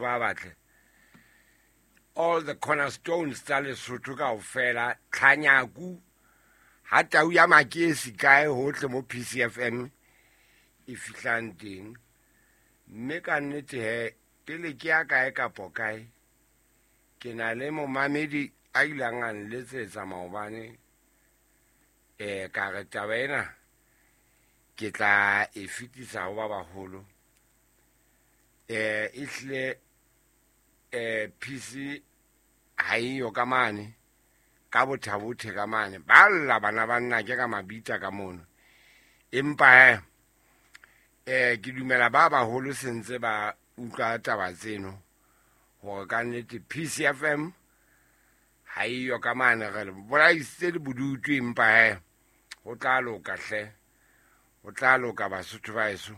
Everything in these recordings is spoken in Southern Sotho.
Basotho ba batle, all the cornerstones tsa Lesotho kaofela, tlhanyaku ha tau ya makesi kae hohle mo PCFM e fihlang teng. Mme ka nnete he, pele ke ya kae kapo kae, ke na le momamedi a ilang a nletsetsa maobane. Ka re taba ena ke tla e fetisa ho ba baholo. Ehlile PC ha eyo ka mane ka Bothabothe ka mane, ba lla bana ba nna ke ka mabita ka mono. Empa he, ke dumela ba baholo sentse ba utlwa taba tseno hore ka nnete PCFM ha eyo ka mane. Re le bolaisitse le bodutu, empa he, ho tla loka hle, ho tla loka, Basotho ba eso.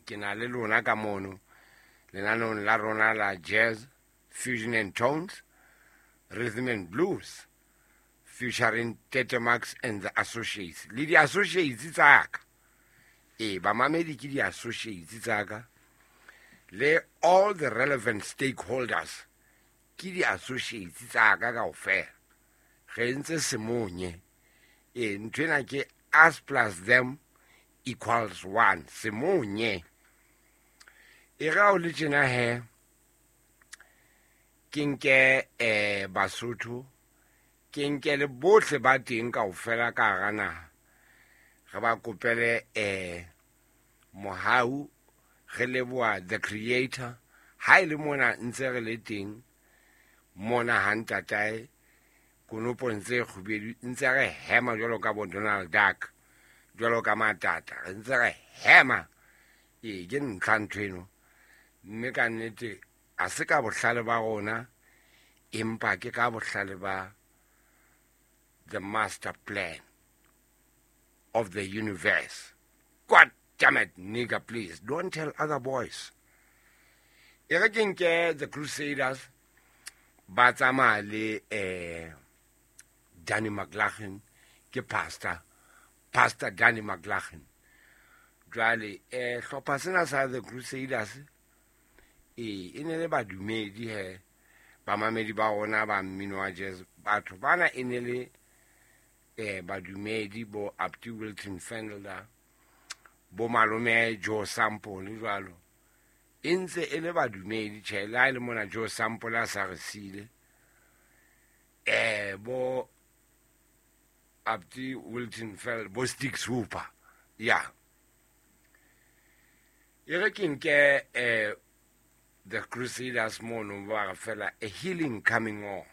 Ke na le lona ka mono lenaneong la rona la Jazz Fusion and Tones, Rhythm and Blues, featuring Tete Max and the Associates, le di-associates tsaka. Ee, bamamedi ke di-associates tsaka, le all the relevant stakeholders ke di-associates tsaka kaofela. Re entse semonye. Ee, nthwena ke us plus them equals one, semonye. E re ha o le tjena he, ke nke Basotho, ke nke le bohle ba teng kaofela ka hara naha, re ba kopele mohau. Re leboha the creator ha e le mona ntse re le teng mona ha ntatae konopong tse kgubedu, ntse re hema jwalo ka bo Donald Duck, jwalo ka matata, re ntse re hema. Ee, ke ntlha ntho eno, mme ka nnete a se ka bohlale ba rona, empa ke ka bohlale ba the master plan of the universe. God damn it, nigga, please don't tell other boys. E re ke nke the Crusaders ba tsamaya le Danny McLaughlin, ke pastor Danny McLaughlin. Jwale hlopha sena sa the Crusaders e ne le badumedi he, bamamedi ba rona ba mmino wa jazz. Batho bana e ne le badumedi, bo Abdi Wilton Fendler, bo malome Joe Sample jwalo, e ntse e le badumedi. Tjhe, le ha e le mona Joe Sample a sa re sile, bo Abdi Wilton Feld, bo Sticks Hooper ya. E re ke nke the Crusaders mono, ba re fela a healing coming on.